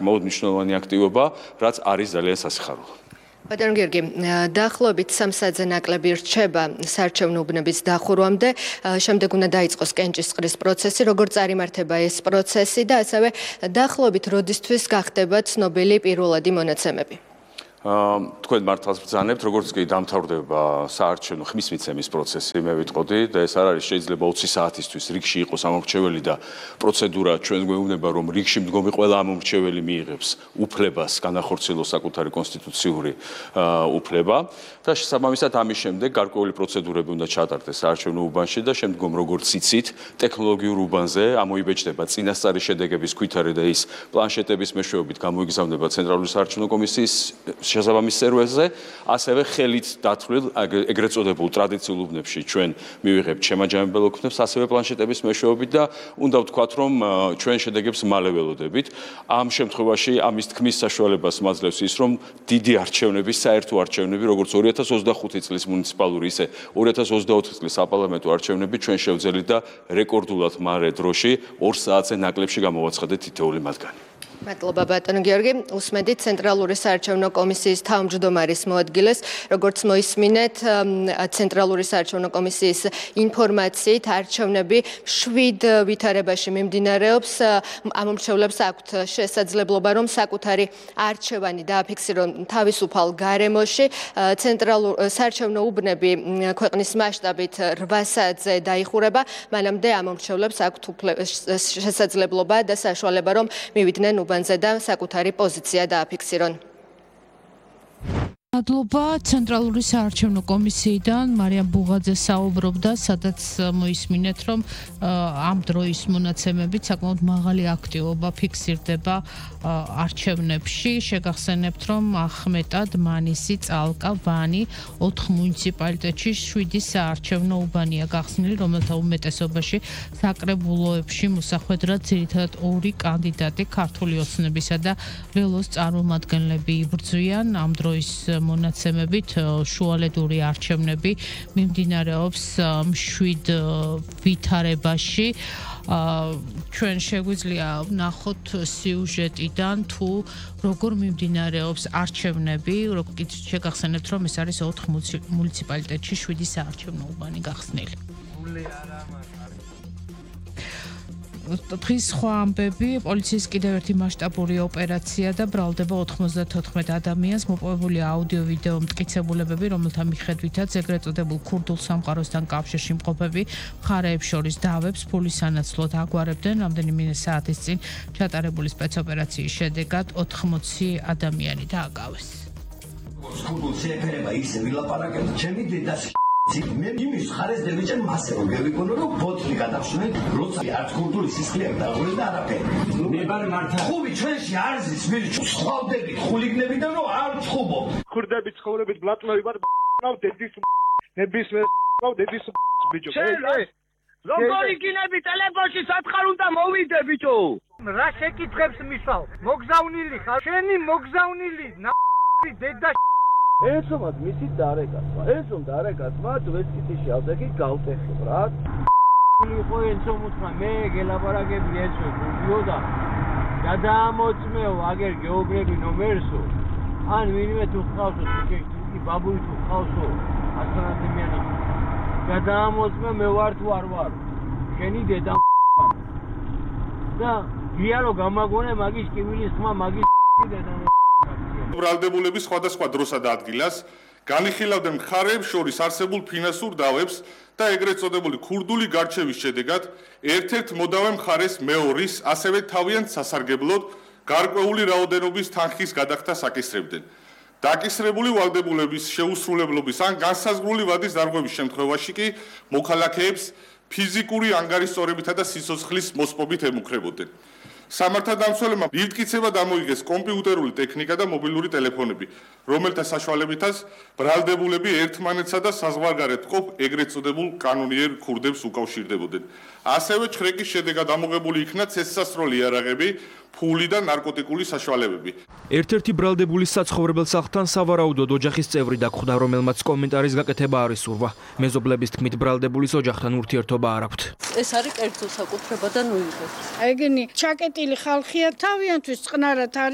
Მნიშვნელოვანი აქტივობა, რაც არის ძალიან სასიხარულო. ბატონო გიორგი, დაახლოებით 3 საათზე ნაკლები რჩება საარჩევნო უბნების დახურვამდე, შემდეგ უნდა დაიწყოს კენჭისყრის პროცესი, როგორ წარიმართება ეს პროცესი და ასევე დაახლოებით როდისთვის გახდება ცნობილი პირველადი მონაცემები. თქვენ მართლაც ბრძანებთ, როგორც კი დამთავრდება საარჩევნო ხმის მიცემის პროცესი, მე ვიტყოდი და ეს არ არის შეიძლება 20 საათისთვის რიგში იყოს ამომრჩეველი და პროცედურა ჩვენ გვეუბნება, რომ რიგში მდგომი ყველა ამომრჩეველი მიიღებს უფლებას განახორციელოს საკუთარი კონსტიტუციური უფლება და შესაბამისად ამის შემდეგ გარკვეული პროცედურები უნდა ჩატარდეს საარჩევნო უბანში და შემდგომ როგორც იცით, ტექნოლოგიურ უბანზე ამოიბეჭდება წინასწარი შედეგების ქვითარი და ის პლანშეტების მეშვეობით გამოიგზავნება ცენტრალური საარჩევნო კომისიის შესაბამის სერვერზე, ასევე ხელით დათვლილ ეგრეთ წოდებულ ტრადიციულ უბნებში ჩვენ მივიღებთ შემაჯამებელ ოქნებს, ასევე პლანშეტების მეშვეობით და უნდა ვთქვათ, რომ ჩვენ შედეგებს მალე ველოდებით. ამ შემთხვევაში ამის თქმის საშუალებას მაძლევს ის, რომ დიდი არჩევნები, საერთო არჩევნები, როგორც 2025 წლის მუნიციპალური, ისე 2024 წლის საპარლამენტო არჩევნები ჩვენ შევძელით და რეკორდულად მარე დროში 2 საათზე ნაკლებში გამოვაცხადეთ თითოეული მათგანი. მადლობა ბატონო გიორგი, უსმედით ცენტრალური საარჩევნო კომისიის თავმჯდომარის მოადგილეს, როგორც მოისმინეთ, ცენტრალური საარჩევნო კომისიის ინფორმაციით არჩევნები 7 ვითარებაში მიმდინარეობს, ამომრჩევლებს აქვთ შესაძლებლობა, რომ საკუთარი არჩევანი დააფიქსირონ თავისუფალ გარემოში, საარჩევნო უბნები ქვეყნის მასშტაბით 8 საათზე დაიხურება, მანამდე ამომრჩევლებს აქვთ შესაძლებლობა და საშუალება, რომ მივიდნენ უბანზე და საკუთარი პოზიცია დააფიქსირონ. მადლობა ცენტრალური საარჩევნო კომისიიდან მარიამ ბუღაძე საუბრობდა, სადაც მოისმინეთ, რომ ამ დროის მონაცემებით საკმაოდ მაღალი აქტივობა ფიქსირდება არჩევნებში. შეგახსენებთ, რომ ახმეტად, მანისი, წალკა, ვანი 4 მუნიციპალიტეტში 7 საარჩევნო უბანია გახსნილი, რომელთა უმეტესობაში საკრებულოებში მოსახვედრად ძირითადად 2 კანდიდატი ქართული ოცნებისა და ველოს წარმომადგენლები იბრძვიან. ამ დროის მონაცემებით შუალედური არჩევნები მიმდინარეობს 7 ვითარებაში. ჩვენ შეგვიძლია ვნახოთ სიუჟეტიდან თუ როგორ მიმდინარეობს არჩევნები, როგორც შეგახსენებთ, რომ ეს არის 4 მუნიციპალიტეტში 7 საარჩევნო უბანი გახსნილი. დღის სხვა ამბები, პოლიციის კიდევ ერთი მასშტაბური ოპერაცია და ბრალდება 94 ადამიანს, მოპოვებული აუდიო-ვიდეო მტკიცებულებები, რომელთა მიხედვითაც ეგრეთ წოდებულ ქურდულ სამყაროსთან კავშირში მყოფები მხარეებს შორის დავებს ფულის სანაცვლოდ აგვარებდნენ, რამდენიმე საათის წინ ჩატარებული სპეცოპერაციის შედეგად 80 ადამიანი დააგავეს. ქურდულ შეეფერება ისე ვილაპარაკებთ, ჩემი დედას მე იმის ხარეს დევიჭენ მასე რომ გევიკონო რომ ბოთლი გადახსნე როცა არც ქურდული სისხლია დაღველი და არაფერი ნებარი მართა ხუბი ჩვენში არის ის სხვავდებით ხულიგნებიდან რომ არ ჩხუბო ქურდები ცხოვრებით ბლატნოი ვარ ნავ დედის ნებისმიერ დედის ბიჭო როგორი გინები ტელეფონში სათხარ უნდა მოვიდე ბიჭო რა შეკითხებს მისვავ მოგზავნილი ხარ შენი მოგზავნილი დედა ესომად მისი დარეკაცვა, ესომ დარეკაცვა ვესკიტიში ავდექი გავტეხებ რა. იყო ესომ უთხრა მე გელაპარაკები ესო გიოდა. გადაამოწმეო აგერ გეოგრები ნომერსო. ან ვინმე თუ ხავსო თქი ბაბული თუ ხავსო ასანადემიანი. გადაამოწმე მე ვარ თუ არ ვარ. შენი დედა და გიარო გამაგონე მაგის კივილის ხმა მაგის დედა ბრალდებულების სხვადასხვა დროსა და ადგილას განიხილავდნენ მხარეებს შორის არსებულ ფინანსურ დავებს და ეგრეთ წოდებული ქურდული გარჩევის შედეგად ერთ-ერთ მოდავე მხარეს მეორის, ასევე თავიანთ სასარგებლოდ გარკვეული რაოდენობის თანხის გადახდას აკისრებდნენ. დაკისრებული ვალდებულების შეუსრულებლობის ან განსაზღვრული ვადის დარღვევის შემთხვევაში კი მოქალაქეებს ფიზიკური ანგარიშწორებითა და სიცოცხლის მოსპობით ემუქრებოდნენ. სამართალდამცველებმა მტკიცება დამოიღეს კომპიუტერული ტექნიკა და მობილური ტელეფონები, რომელთა საშუალებითაც ბრალდებულები ერთმანეთსა და საზღვარგარეთ მყოფ ეგრეთ წოდებულ კანონიერ ქურდებს უკავშირდებოდნენ. ასევე ჩხრეკის შედეგად ამოღებული იქნა ცეცხლსასროლი იარაღები, ფული და ნარკოტიკული საშუალებები. ერთ-ერთი ბრალდებულის საცხოვრებელ სახლთან სავარაუდოდ ოჯახის წევრი დაგხვდა, რომელმაც კომენტარის გაკეთება არ ისურვა. მეზობლების თქმით, ბრალდებულის ოჯახთან ურთიერთობა არ აქვთ. ეს არის კერძო საკუთრება და ნუიღებს. ეგენი ჩაკეტილი ხალხია, თავიანთვის წყნარად არის